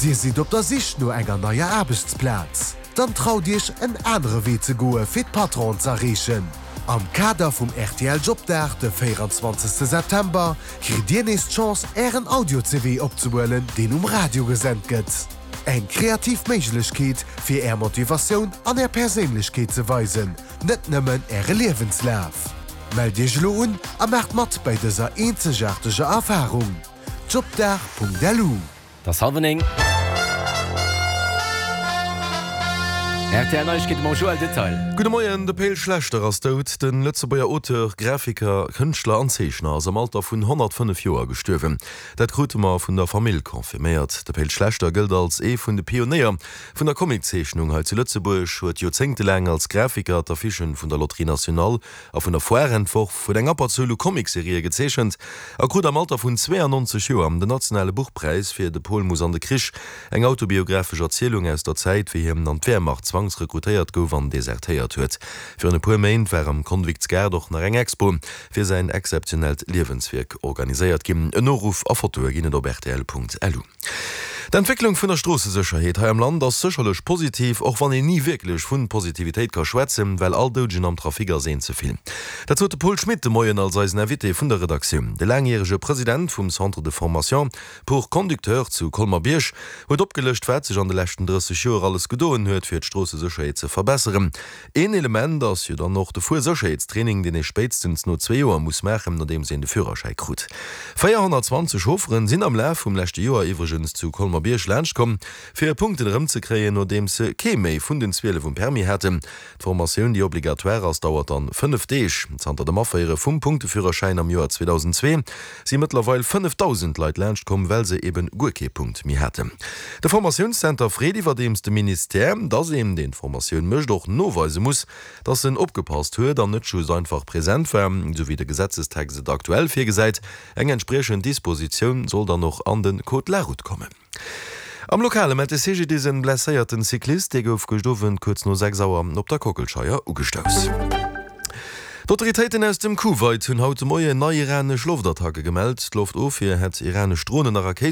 Dir sidd op der Sich no enger neier Aarbechtsplaz? Dann traut Iech en anere Wee ze goe fir d'Patronen z'erreechen. Am Kader vum rtl Jobdag de 24 September kritt Dir nees d'Chance Ären Audio-CV opzehuelen deen um Radio gesent gëtt. Eng kreativ Méiglechkeet fir Är Motivatioun an Är Perséinlechkeet ze weisen, net nëmmen Äre Liewenslaf. Mellt Iech elo un a maacht mat bäi dëser eenzegaarteger Erfarung. Jobdag.lu. Et ass hallwer 9. Rtl Neiegkeete mam Joël Detail. Gudde Moien, De Pe'l Schlechter ass dout. De Lëtzebuerger Auteur, Grafiker, Kënschtler an Zeechner ass am Alter vun 105 Joer gestuerwen. Dat krute mer vun der Famill confirméiert. De Pe'l Schlechter gëllt als ee vun de Pionéier vun der Comiczeechnung hei zu Lëtzebuerg, huet joerzéngtelaang als Grafiker d'Affichen vun der Loterie Nationale a vun der Foire entworf, huet eng Abberzuel u Comicserië gezeechent a krut am Alter vun 92 Joer den nationale Buchpräis fir De Pol muss an de Krich, eng autobiographesch Erzielung aus der Zäit, wéi hien an d'Wehrmacht zwangsrekrutéiert gouf an desertéiert huet. Virun e puer Méint war am Konviktsgaart och nach eng Expo fir säin exzeptionellt Liewenswierk organiséiert ginn. En Noruff a Fotoe ginn et op rtl.lu. D'Entwécklung vun der Stroossesécherheet hei am Land ass sécherlech positiv, och wann een ni wierklech vu Positivitéit ka schwätzen, well all Doudegen am Trafic ass een ze vill. Dat sot de Paul Schmit de Moien als eisen Invité vun der Redaktioun. De laangjärege President vum Centre de formation pour conducteurs zu Colmer-Bierg huet opgelëscht, wat sech an de leschten 30 Joer alles gedoen huet, fir d'Stroossesécherheet ze verbesseren. Een Element ass jo dann och de Fuersécherheetstraining, deen ee spéitstens no zwee Joer muss maachen, nodeems een de Führerschäi krut. 420 Chaufferen sinn am Laf vum leschte Joer iwwregens zu Colmer-Bierg laanscht komm, fir hir Punkten erëmzekréien, nodeems se kee méi vun den 12 um Permis haten. D'Formatioun, déi obligatoire ass, dauert dann 5 Deeg. Zanter dem Aféiere vum Punkteführerschäin am Joer 2002 si mëttlerweil 5.000 Leit laanscht komm, well se eben guer kee Punkt méi haten. De Formatiounszenter freet iwwerdeems de Ministère, dass een, deen d'Formatioun mécht, och noweise muss, dass en opgepasst huet an net just einfach present war, esou wéi de Gesetzestext et aktuell virgesäit. Eng entspriechend Dispositioun soll dann och an de Code de la route kommen. Am Lokale mellt de CGDIS en blesséierten Cyclist. Dee gouf gëscht Owend kuerz no 6 Auer op der Kockelscheier ugestouss. D'Autoritéiten aus dem Kuwait hunn haut de Moien nei iranesch Loftattacke gemellt. D'Loftofwier hätt iranesch Dronen a Rakéiten.